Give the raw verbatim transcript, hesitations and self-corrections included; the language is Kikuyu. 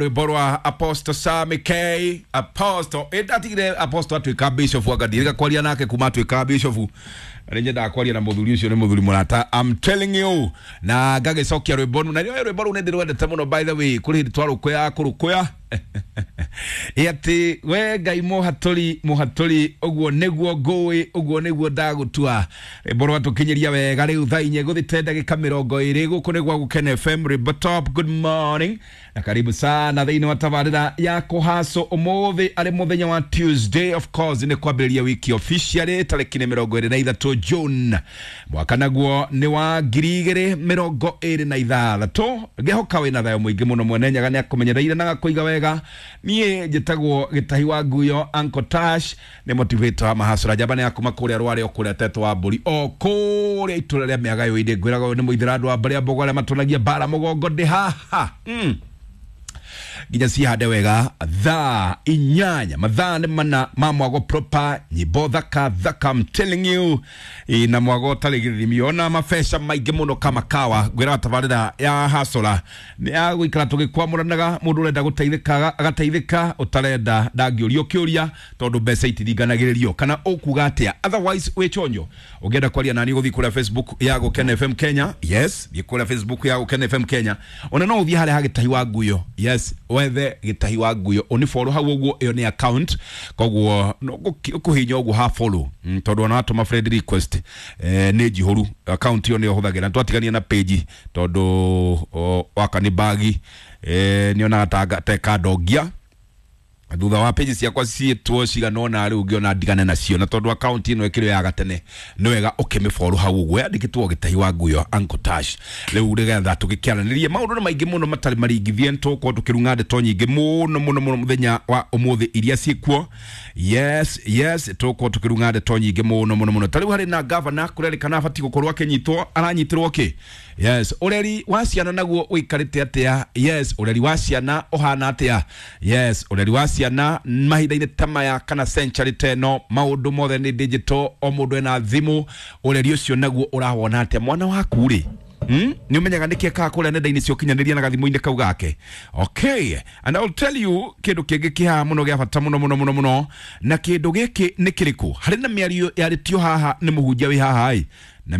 Rwimbo rwa Apostle Sammy K. Apostle ĩndatigire Apostle atuĩka bishop, anga kwaria nake kuma atuĩka bishop. Nĩ nyendaga kwaria na mũthuri ũcio, nĩ mũthuri mũrata, I'm telling you. Na ngagĩcokia rwĩmbo rũu, na rĩo rwĩmbo rũu nĩ ndĩrwendete mũno. By the way, kũrĩ hĩndĩ twarũkũya kũrũkũya ĩ atĩ we Ngai mũhatũri mũhatũri, ũguo nĩguo ngũĩ, ũguo nĩguo ndagũtua. Rwĩmbo rwatũkinyĩria wega rĩu thaa inya gũthĩte ndagĩka mĩrongo ĩrĩ. Gũkũ nĩ gwa Gũkena F M, rwĩmbo top. Good morning na karibu sana thĩinĩ wa tabarĩra ya kũhaco. Ũmũthĩ arĩ mũthenya wa Tuesday, of course nĩ kwambĩrĩria wiki officially, tarĩki nĩ mĩrongo ĩrĩ na ithatũ June, mwaka naguo nĩ wa ngiri igĩrĩ mĩrongo ĩrĩ na ithathatũ. Ngĩhoka wĩna thayũ mũingĩ mũno. Mwene Nyaga nĩ akũmenyereire na agakũiga wega. Niĩ njĩtagwo Gĩtahi wa Nguyo, Uncle Tash, nĩ motivator wa mahacũra njamba, nĩ akuma kũrĩa rware o kũrĩa tetwo wa mbũri, o kũrĩa itũra rĩa mĩaga yũinĩ. Ngwĩraga ũyũ nĩ mũithĩra andũ a mbarĩ a mbogo arĩa matũnagia mbara mũgongo ndĩ haha mm. nginya cihande wega thaa inyanya, mathaa nĩ mana ma mwago proper, nyimbo thaka thaka, I'm telling you. Ĩ, na mwago ũtarĩ gĩthimi, ona mabeca maingĩ mũno kama kawa. Ngwĩraga tabarĩra ya hasũra nĩ ya gũikara tũgĩkwamũranaga. Mũndũ ũrenda gũteithĩka agateithĩka, ũtarenda ndangĩũrio kĩũria, tondũ mbeca itiringanagĩrĩrio kana ũkuga atĩa. Otherwise wĩ chonjo. Ũngĩenda kwaria nani, gũthiĩ kũrĩa Facebook ya Gũkena F M Kenya. Yes, thiĩ kũrĩa Facebook ya Gũkena F M Kenya, ona no ũthiĩ harĩa ha Gĩtahi wa Nguyo. Yes, wethe Gĩtahi wa Nguyo, ũni follow hau ũguo. Ĩyo nĩ account, koguo no ũkũhinya ũguo ha follow mm, tondũ ona watũma friend request eh, nĩ njihũru. Account ĩyo nĩyo hũthagĩra, twatigania na page tondũ o, waka nĩ bagi eh, nĩonaga ta tekandongia thutha wa page ciakwa ciĩtwo cigana ũna. Rĩu ngĩona ndigane nacio, na tondũ account ĩno ĩkĩrĩ ya gatene, nĩ wega ũkĩmĩfollow hau ũguo yandĩkĩtwo Gĩtahi wa Nguyo, Uncle Tash. Rĩu nĩgetha tũgĩkĩaranĩrie, maũndũ nĩ maingĩ mũno matarĩ maringithie, nĩtũgũkorwo tũkĩrung'a ndeto nyingĩ mũno mũno mũno mũthenya wa ũmũthĩ iria ciĩkuo. yes yes tũgũkorwo tũkĩrung'a ndeto nyingĩ mũno mũno mũno. Ta rĩu harĩ na gavana kũrerĩkana abatiĩ gũkorwo akĩnyitwo, aranyitĩrwo kĩ? Yes, ũreri wa ciana naguo ũikarĩte atĩa? Yes, ũreri wa ciana ũhana atĩa? Yes, ũreri wa ciana mahinda-inĩ ta maya kana century ta ĩno, maũndũ mothe nĩ digital, o mũndũ ena thimũ. Ũreri ũcio naguo ũrawona atĩa? Mwana waku rĩ, Mm? nĩ ũmenyaga nĩkĩ ekaga kũrĩa nenda-inĩ cia ũkinyanĩria na gathimũ-inĩ kau gake? Okay, and I'll tell you kĩndũ kĩngĩ kĩhaha mũno gĩa bata mũno mũno mũno mũno, na kĩndũ gĩkĩ nĩ kĩrĩkũ? Harĩ na mĩario yarĩtio haha nĩ mũhunjia wĩ haha ĩ na